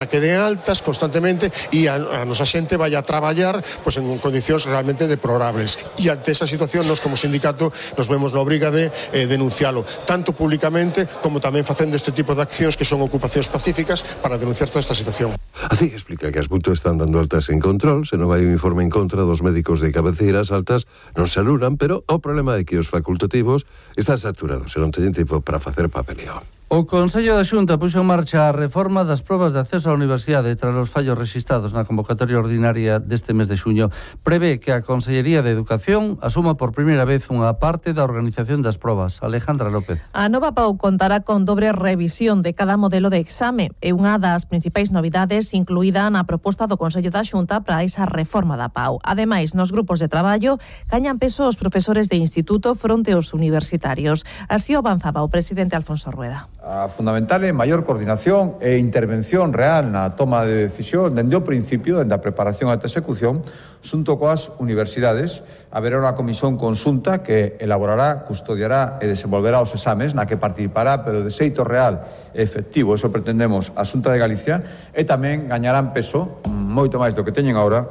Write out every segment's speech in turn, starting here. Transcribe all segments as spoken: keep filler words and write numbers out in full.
que den altas constantemente e a, a nosa xente vai a traballar pois, en condicións realmente deplorables. E ante esa situación, nos como sindicato nos vemos na obriga de eh, denuncialo, tanto públicamente como tamén facendo este tipo de accións que son ocupacións pacíficas para denunciar toda esta situación. Así que explica que as mutuas están dando altas en control, se non vai un informe en contra dos médicos de cabeceira, as altas non se anulan, pero o problema é que os facultativos están saturados e non teñen tempo para facer papeleo. O Consello da Xunta puxo en marcha a reforma das probas de acceso á universidade tras os fallos rexistrados na convocatoria ordinaria deste mes de xuño. Prevé que a Consellería de Educación asuma por primeira vez unha parte da organización das probas. Alejandra López. A nova P A U contará con dobre revisión de cada modelo de exame e unha das principais novidades incluída na proposta do Consello da Xunta para esa reforma da P A U. Ademais, nos grupos de traballo gañan peso os profesores de instituto fronte aos universitarios. Así o avanzaba o presidente Alfonso Rueda. A fundamental é maior coordinación e intervención real na toma de decisión dende o principio, dende a preparación ata a execución, xunto coas universidades. Haberá unha comisión conxunta que elaborará, custodiará e desenvolverá os exames na que participará, pero de xeito real e efectivo, eso pretendemos a Xunta de Galicia, e tamén gañarán peso, moito máis do que teñen agora,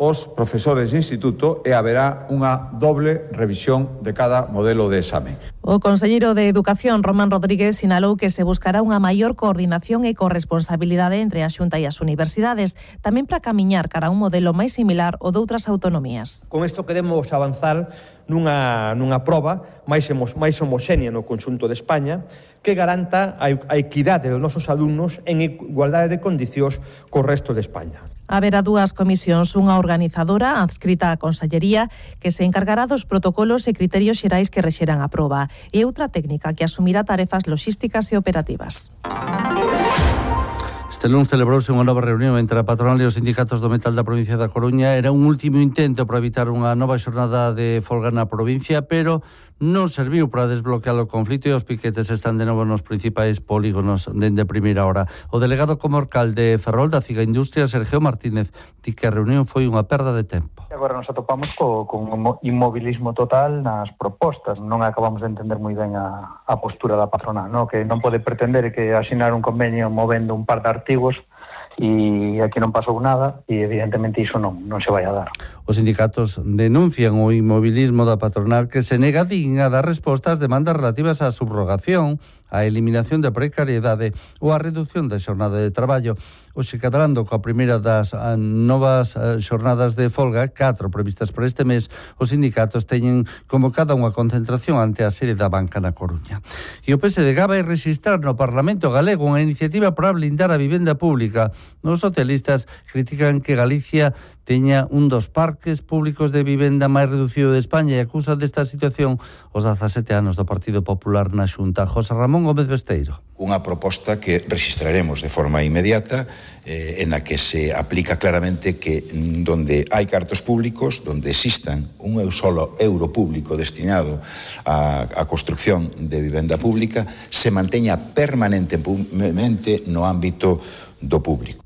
os profesores de instituto e haberá unha doble revisión de cada modelo de exame. O conselleiro de Educación, Román Rodríguez, sinalou que se buscará unha maior coordinación e corresponsabilidade entre a Xunta e as universidades, tamén para camiñar cara a un modelo máis similar ao de outras autonomías. Con isto queremos avanzar nunha, nunha proba máis, máis homoxénea no conxunto de España que garanta a, a equidade dos nosos alumnos en igualdade de condicións co resto de España. Haberá dúas comisións, unha organizadora adscrita á Consellería que se encargará dos protocolos e criterios xerais que rexeran a proba e outra técnica que asumirá tarefas logísticas e operativas. Este lunes celebrouse unha nova reunión entre a patronal e os sindicatos do metal da provincia da Coruña. Era un último intento para evitar unha nova xornada de folga na provincia, pero non serviu para desbloquear o conflito e os piquetes están de novo nos principais polígonos dende primeira hora. O delegado comarcal de Ferrol da Ciga Industria, Sergio Martínez, di que a reunión foi unha perda de tempo. Agora nos atopamos co, con un inmobilismo total nas propostas. Non acabamos de entender moi ben a, a postura da patronal, no? Que non pode pretender que asinar un convenio movendo un par de artigos e aquí non pasou nada e evidentemente iso non, non se vai a dar. Os sindicatos denuncian o inmobilismo da patronal que se nega a dar resposta ás demandas relativas á subrogación, á eliminación da precariedade ou á reducción da xornada de traballo. Hoxe catalando coa primeira das novas xornadas de folga, catro previstas para este mes, os sindicatos teñen convocada unha concentración ante a sede da banca na Coruña. E o P S D G vai rexistrar no Parlamento galego unha iniciativa para blindar a vivenda pública. Os socialistas critican que Galicia teña un dos parques públicos de vivenda máis reducido de España e acusa desta situación os dezasete anos do Partido Popular na Xunta. José Ramón Gómez Besteiro. Unha proposta que registraremos de forma inmediata eh, en la que se aplica claramente que donde hai cartos públicos, donde existan un solo euro público destinado a, a construcción de vivenda pública, se manteña permanentemente no ámbito do público.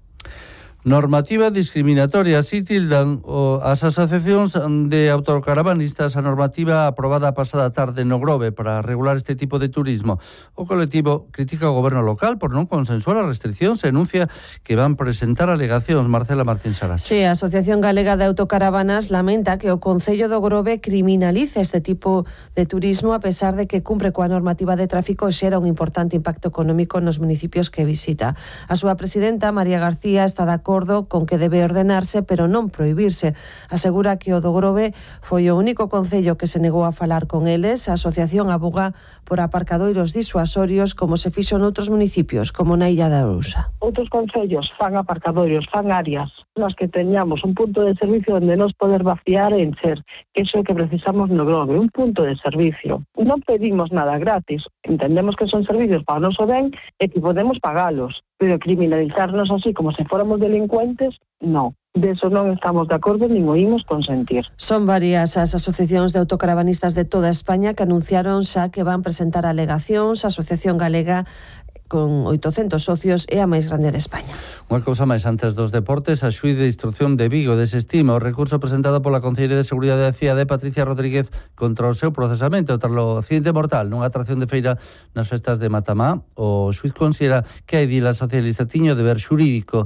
Normativa discriminatoria, así tildan o, as asociacións de autocaravanistas a normativa aprobada a pasada tarde no Grove para regular este tipo de turismo. O colectivo critica o goberno local por non consensuar as restriccións e anuncia que van presentar alegacións. Marcela Martín Saras. Sí, a Asociación Galega de Autocaravanas lamenta que o Concello do Grove criminalice este tipo de turismo a pesar de que cumpre coa normativa de tráfico e xera un importante impacto económico nos municipios que visita. A súa presidenta, María García, está de acordo con que debe ordenarse, pero non prohibirse. Asegura que o do Grove foi o único concello que se negou a falar con eles. A asociación aboga por aparcadoiros disuasorios como se fixo noutros municipios, como na Illa da Arousa. Outros concellos fan aparcadoiros, fan áreas nas que teñamos un punto de servicio onde nos poder vaciar e encher, que iso é que precisamos no Grove, un punto de servicio. Non pedimos nada gratis, entendemos que son servicios para o noso ben e que podemos pagalos, pero criminalizarnos así como se fóramos delincuentes, non. De eso non estamos de acordo nin o imos consentir. Son varias as asociacións de autocaravanistas de toda España que anunciaron xa que van presentar alegacións. A Asociación Galega con oitocentos socios é a máis grande de España. Unha cousa máis antes dos deportes, a xuíz de instrucción de Vigo desestima o recurso presentado pola Conselleira de Seguridade da Cidade, Patricia Rodríguez, contra o seu procesamento tras o accidente mortal nunha atracción de feira nas festas de Matamá. O xuíz considera que a edila socialista tiño deber xurídico